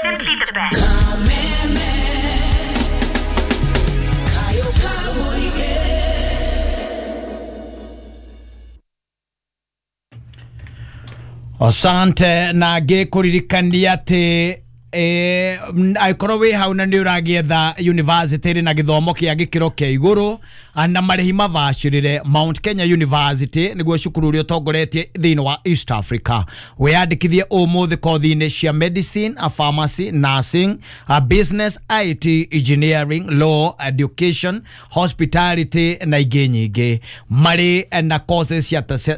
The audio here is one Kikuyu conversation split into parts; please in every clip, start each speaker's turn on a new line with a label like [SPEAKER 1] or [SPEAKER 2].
[SPEAKER 1] Simply the best.
[SPEAKER 2] Asante na ngĩkũririkania atĩ angĩkorwo wĩ hau na nĩ ũragĩetha university ĩrĩ na gĩthomo kĩa gĩkĩro kĩa igũrũ na marĩhi mabacĩrĩre, Mount Kenya University nĩguo cukuru ũrĩa ũtongoretie thĩinĩ wa East Africa. Wĩyandĩkithie ũmũthĩ kothi-inĩ cia medicine, pharmacy, nursing, business, IT, engineering, law, education, hospitality na ingĩ nyingĩ. Marĩ na courses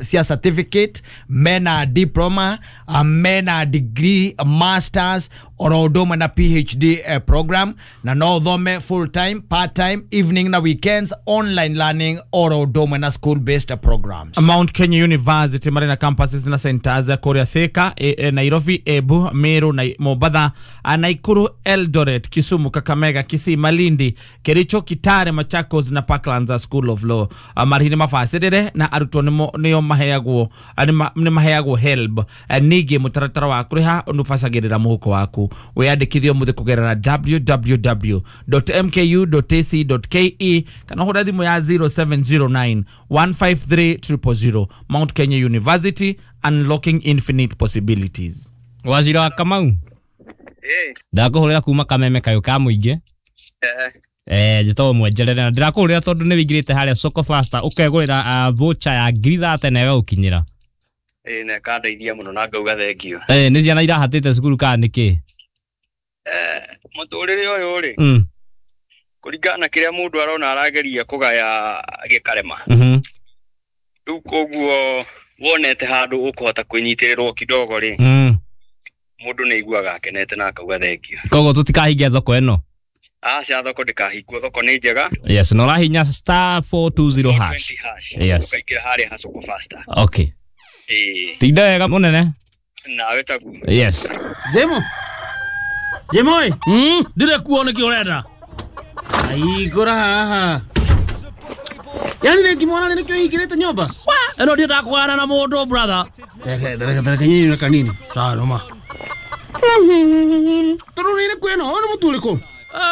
[SPEAKER 2] cia certificate, mena diploma, mena degree, masters oro ũndũ ũmwe na PhD program, na no ũthome full time, part time, evening na weekends, online learning oro ũndũ ũmwe na school based programs.
[SPEAKER 3] Mount Kenya University marĩ na campuses na centers kũrĩa Thika, Nairobi, Embu, Meru na Mombatha, Nakuru, Eldoret, Kisumu, Kakamega, Kisii, Malindi, Kericho, Kitale, Machakos na Parklands School of Law. Marĩhi nĩ mabacĩrĩre na arutwo nĩo maheagwo nĩ maheagwo HELB. Ningĩ mũtaratara wa kũrĩha nĩ ũbacagĩrĩra mũhuko waku. Wĩyandĩkithie ũmũthĩ kũgerera www.mku.ac.ke kana ũhũre thimũ ya 0709 153 000. Mount Kenya University, unlocking infinite possibilities.
[SPEAKER 4] Wazira wa Kamau, ndakũhũrĩra kuma Kameme kayũ ka mũingĩ. Njĩtagwo Mwenjerere na ndĩrakũhũrĩra tondũ nĩ wĩingĩrĩte harĩa Soko Faster ũkegũrĩra voucher ya 30,000 na ĩgagũkinyĩra.
[SPEAKER 5] Na ĩkandeithia mũno na ngauga thengio.
[SPEAKER 4] Nĩ ciana irahatĩte cukuru kana nĩkĩ?
[SPEAKER 5] Mũtũrĩre ũyũ rĩ, kũringana na kĩrĩa mũndũ arona arageria kũgaya gĩkarema. Rĩu koguo wonete handũ ũkũhota kwĩnyitĩrĩrwo kidogo rĩ, mũndũ nĩ aiguaga akenete na akauga thengio.
[SPEAKER 4] Koguo tũtikahingia thoko ĩno?
[SPEAKER 5] Aca, thoko ndĩkahingwo, thoko nĩ njega.
[SPEAKER 4] Yes, na ũrahinya star 420 hash. Yes.
[SPEAKER 5] Ũkaingĩra harĩa ha Soko Faster.
[SPEAKER 4] Okay. Tinda wega mũnene.
[SPEAKER 5] Nawe taguo.
[SPEAKER 4] Yes.
[SPEAKER 6] Jemo. Jemo ĩ, ndirĩ kuo nĩkĩ ũrenda? Aigũra haha. Yaani nĩngĩmwona nĩkĩo hingĩrĩte nyũmba? Ĩno ndiendaga kũgana na mũndũ brother. Reke nyinyi na kanini. Sawa noma. Tondũ nĩ kwĩno, ũyũ nĩ mũtu ũrĩkũ?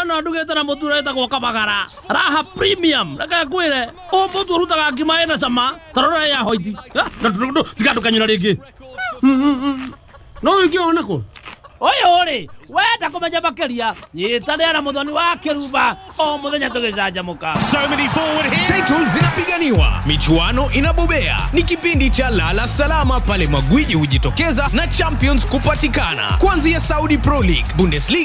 [SPEAKER 6] No ndugĩte na mũtu ũrĩa wĩtagwo Kabagara. Raha Premium. Reke ngwĩre, ũyũ mũtu ũrutaga ngima ĩna cama, ta rora ya hoiti. Tiga ndũkanyũra rĩngĩ. No ũngĩona kũ? Ũyũ rĩ, wenda kũmenya makĩria, nyitanĩra na Mũthoni wa Kĩrumba o mũthenya tũgĩcanjamũka.
[SPEAKER 7] So many forward here. Titles zinapiganiwa, michuano inabobea. Ni kipindi cha Lala Salama pale magwiji hujitokeza na champions kupatikana. Kuanzia Saudi Pro League, Bundesliga